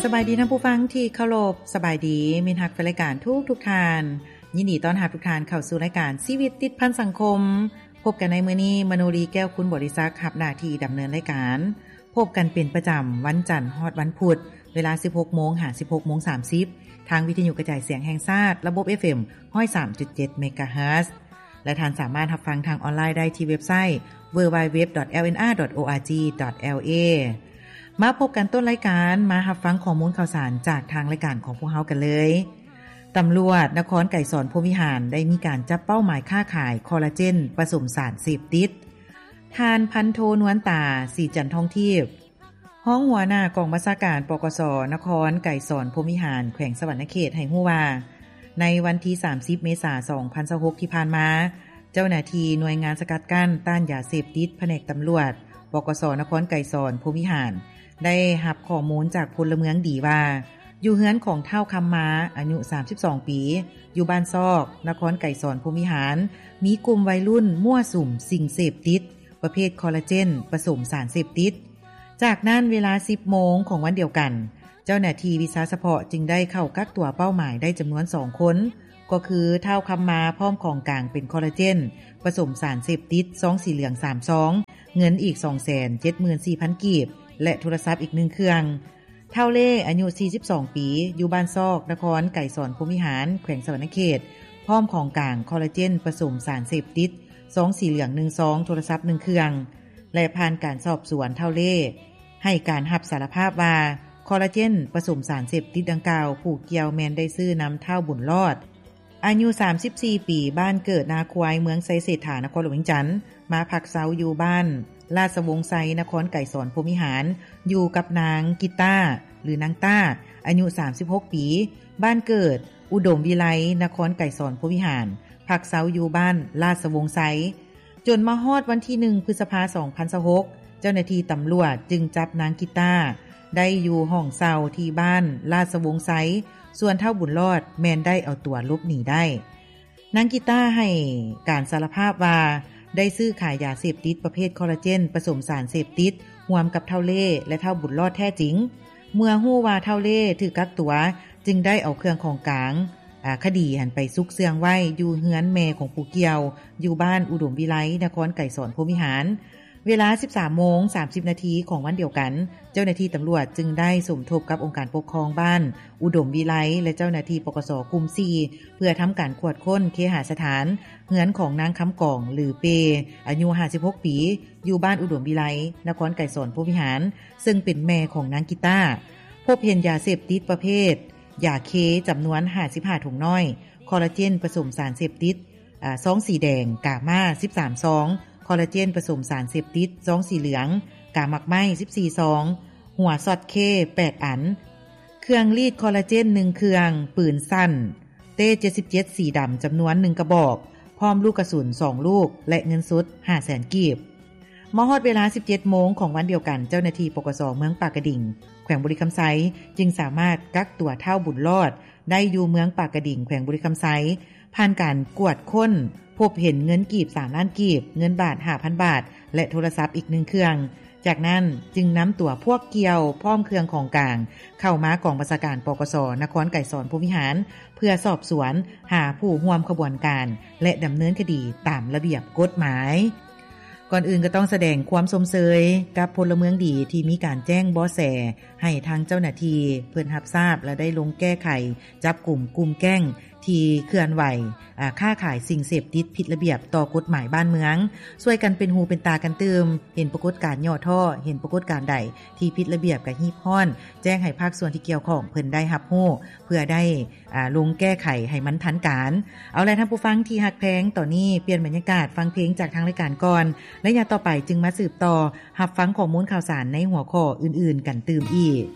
ສະບາຍດີທ່ານຜູ້ຟັງທີ່ເຄົາລົບ, ສະບາຍດີມິດຮັກແຟນລາຍການທຸກໆທ່ານ. ຍິນດີຕ້ອນຮັບທຸກທ່ານເຂົ້າສູ່ລາຍການຊີວິດຕິດພັນສັງຄົມ. ພົບກັນໃນມື້ນີ້ ມະໂນລີ ແກ້ວຄຸນບໍລິສັກ ຮັບໜ້າທີ່ດຳເນີນລາຍການ. ພົບກັນເປັນປະຈຳວັນຈັນຮອດວັນພຸດ ເວລາສິບຫົກໂມງຫາສິບຫົກໂມງສາມສິບ ທາງວິທະຍຸກະຈາຍສຽງແຫ່ງຊາດ ລະບົບ ເອຟເອັມ ຮ້ອຍສາມຈຸດເຈັດ ເມກາເຮີດ ແລະ ທ່ານສາມາດຮັບຟັງທາງອອນລາຍໄດ້ທີ່ເວັບໄຊ www.lnr.org.la. ມາພົບກັນຕົ້ນລາຍການ, ມາຮັບຟັງຂໍ້ມູນຂ່າວສານຈາກທາງລາຍການຂອງພວກເຮົາກັນເລີຍ. ຕຳຫຼວດນະຄອນໄກສອນພົມວິຫານ ໄດ້ມີການຈັບເປົ້າໝາຍຄ້າຂາຍຄໍລາເຈນປະສົມສານເສບຕິດ. ທ່ານພັນໂທ ນວນຕາ ສີຈັນທອງທີບ ຮອງຫົວໜ້າກອງບັນຊາການ ປກສ ນະຄອນໄກສອນພົມວິຫານ ແຂວງສະຫວັນນະເຂດ ໃຫ້ຮູ້ວ່າ ໃນວັນທີສາມສິບ ເມສາ ສອງພັນຊາວຫົກ ທີ່ຜ່ານມາ, ເຈົ້າໜ້າທີ່ໜ່ວຍງານສະກັດກັ້ນຕ້ານຢາເສບຕິດ ພະແນກຕຳຫຼວດ ປກສ ນະຄອນໄກສອນພົມວິຫານ ໄດ້ຮັບຂໍ້ມູນຈາກພົນລະເມືອງດີວ່າ ຢູ່ເຮືອນຂອງທ້າວຄຳມາ ອາຍຸສາມສິບສອງປີ ຢູ່ບ້ານຊອກ ນະຄອນໄກສອນພົມວິຫານ ມີກຸ່ມໄວລຸ້ນມົ້ວສຸມສິ່ງເສບຕິດ ປະເພດຄໍລາເຈນປະສົມສານເສບຕິດ. ຈາກນັ້ນເວລາສິບໂມງຂອງວັນດຽວກັນ, ເຈົ້າໜ້າທີ່ວິຊາສະເພາະຈຶ່ງໄດ້ເຂົ້າກັກຕົວເປົ້າໝາຍໄດ້ຈຳນວນສອງຄົນ, ກໍຄືທ້າວຄຳມາ ພ້ອມຂອງກາງເປັນຄໍລາເຈນປະສົມສານເສບຕິດ ຊອງສີເຫຼືອງສາມຊອງ, ເງິນອີກສອງແສນເຈັດໝື່ນສີ່ພັນກີບ ແລະ ໂທລະສັບອີກໜຶ່ງເຄື່ອງ. ທ້າວເລ່ ອາຍຸສີ່ສິບສອງປີ ຢູ່ບ້ານຊອກ ນະຄອນໄກສອນພົມວິຫານ ແຂວງສະຫວັນນະເຂດ ພ້ອມຂອງກາງຄໍລາເຈນປະສົມສານເສບຕິດ ຊອງສີເຫຼືອງໜຶ່ງຊອງ, ໂທລະສັບໜຶ່ງເຄື່ອງ ແລະ ຜ່ານການສອບສວນ ທ້າວເລ່ໃຫ້ການຮັບສາລະພາບວ່າ ຄໍລາເຈນປະສົມສານເສບຕິດດັ່ງກ່າວ ຜູ້ກ່ຽວແມ່ນໄດ້ຊື້ນຳທ້າວບຸນລອດ ອາຍຸສາມສິບສີ່ປີ ບ້ານເກີດນາຄວາຍ ເມືອງໄຊເສດຖາ ນະຄອນຫຼວງວຽງຈັນ ມາພັກເຊົາຢູ່ບ້ານລາຊະວົງໄຊ ນະຄອນໄກສອນພົມວິຫານ ຢູ່ກັບນາງກິຕາ ຫຼື ນາງຕ້າ ອາຍຸສາມສິບຫົກປີ ບ້ານເກີດ ອຸດົມວິໄລ ນະຄອນໄກສອນພົມວິຫານ ພັກເຊົາຢູ່ບ້ານລາຊະວົງໄຊ. ຈົນມາຮອດວັນທີໜຶ່ງ ພຶດສະພາ ສອງພັນຊາວຫົກ ເຈົ້າໜ້າທີ່ຕຳຫຼວດຈຶ່ງຈັບນາງກິຕາໄດ້ຢູ່ຫ້ອງເຊົ່າທີ່ບ້ານລາຊະວົງໄຊ, ສ່ວນທ້າວບຸນລອດແມ່ນໄດ້ເອົາຕົວຫຼົບໜີໄດ້. ນາງກິຕາໃຫ້ການສາລະພາບວ່າ ໄດ້ຊື້ຂາຍຢາເສບຕິດປະເພດຄໍລາເຈນປະສົມສານເສບຕິດ ຮ່ວມກັບທ້າວເລ່ ແລະ ທ້າວບຸນລອດແທ້ຈິງ. ເມື່ອຮູ້ວ່າທ້າວເລ່ຖືກກັກຕົວ ຈຶ່ງໄດ້ເອົາເຄື່ອງຂອງກາງ ອາ ຄະດີຫັ້ນໄປຊຸກເຊື່ອງໄວ້ຢູ່ເຮືອນແມ່ຂອງຜູ້ກ່ຽວ ຢູ່ບ້ານອຸດົມວິໄລ ນະຄອນໄກສອນພົມວິຫານ. ເວລາສິບສາມໂມງສາມສິບນາທີຂອງວັນດຽວກັນ, ເຈົ້າໜ້າທີ່ຕຳຫຼວດຈຶ່ງໄດ້ສົມທົບກັບອົງການປົກຄອງບ້ານອຸດົມວິໄລ ແລະ ເຈົ້າໜ້າທີ່ ປກສ ກຸ່ມສີ່ ເພື່ອທຳການກວດຄົ້ນເຄຫະສະຖານ ເຮືອນຂອງນາງຄຳກອງ ຫຼື ເປ ອາຍຸຫ້າສິບຫົກປີ ຢູ່ບ້ານອຸດົມວິໄລ ນະຄອນໄກສອນພົມວິຫານ ເຊິ່ງເປັນແມ່ຂອງນາງກິຕາ. ພົບເຫັນຢາເສບຕິດປະເພດຢາເຄ ຈຳນວນຫ້າສິບຫ້າຖົງນ້ອຍ, ຄໍລາເຈນປະສົມສານເສບຕິດ ອາ ຊອງສີແດງ ກາມາ ສິບສາມຊອງ, ຄໍລາເຈນປະສົມສານເສບຕິດ ຊອງສີເຫຼືອງ ກາໝາກໄມ້ ສິບສີ່ຊອງ, ຫົວຊັອດເຄ ແປດອັນ, ເຄື່ອງລີດຄໍລາເຈນ ໜຶ່ງເຄື່ອງ, ປືນສັ້ນ ເຕ ເຈັດສິບເຈັດ ສີດຳ ຈຳນວນໜຶ່ງກະບອກ, ພ້ອມລູກກະສຸນສອງລູກ ແລະ ເງິນສົດຫ້າແສນກີບ. ມາຮອດເວລາສິບເຈັດໂມງຂອງວັນດຽວກັນ, ເຈົ້າໜ້າທີ່ ປກສ ເມືອງປາກກະດິງ ແຂວງບໍລິຄຳໄຊ ຈຶ່ງສາມາດກັກຕົວທ້າວບຸນລອດໄດ້ຢູ່ເມືອງປາກກະດິງ ແຂວງບໍລິຄຳໄຊ. ຜ່ານການກວດຄົ້ນ ພົບເຫັນເງິນກີບສາມລ້ານກີບ, ເງິນບາດຫ້າພັນບາດ ແລະ ໂທລະສັບອີກໜຶ່ງເຄື່ອງ. ຈາກນັ້ນຈຶ່ງນຳຕົວພວກກ່ຽວ ພ້ອມເຄື່ອງຂອງກາງ ເຂົ້າມາກອງບັນຊາການ ປກສ ນະຄອນໄກສອນພົມວິຫານ ເພື່ອສອບສວນຫາຜູ້ຮ່ວມຂະບວນການ ແລະ ດຳເນີນຄະດີຕາມລະບຽບກົດໝາຍ. ກ່ອນອື່ນກໍຕ້ອງສະແດງຄວາມຊົມເຊີຍກັບພົນລະເມືອງດີທີ່ມີການແຈ້ງເບາະແສໃຫ້ທາງເຈົ້າໜ້າທີ່ເພິ່ນຮັບຊາບ ແລະ ໄດ້ລົງແກ້ໄຂຈັບກຸມກຸ່ມແກ້ງ ທີ່ເຄື່ອນໄຫວ ອາ ຄ້າຂາຍສິ່ງເສບຕິດຜິດລະບຽບຕໍ່ກົດໝາຍບ້ານເມືອງ, ຊ່ວຍກັນເປັນຫູເປັນຕາກັນຕື່ມ, ເຫັນປາກົດການຫຍໍ້ທໍ້, ເຫັນປາກົດການໃດທີ່ຜິດລະບຽບກະຮີບຮ້ອນແຈ້ງໃຫ້ພາກສ່ວນທີ່ກ່ຽວຂ້ອງເພິ່ນໄດ້ຮັບຮູ້ ເພື່ອໄດ້ ອາ ລົງແກ້ໄຂໃຫ້ມັນທັນການ. ເອົາລະທ່ານຜູ້ຟັງທີ່ຮັກແພງ, ຕອນນີ້ປ່ຽນບັນຍາກາດຟັງເພງຈາກທາງລາຍການກ່ອນ, ໄລຍະຕໍ່ໄປຈຶ່ງມາສືບຕໍ່ຮັບຟັງຂໍ້ມູນຂ່າວສານໃນຫົວຂໍ້ອື່ນໆກັນຕື່ມອີກ.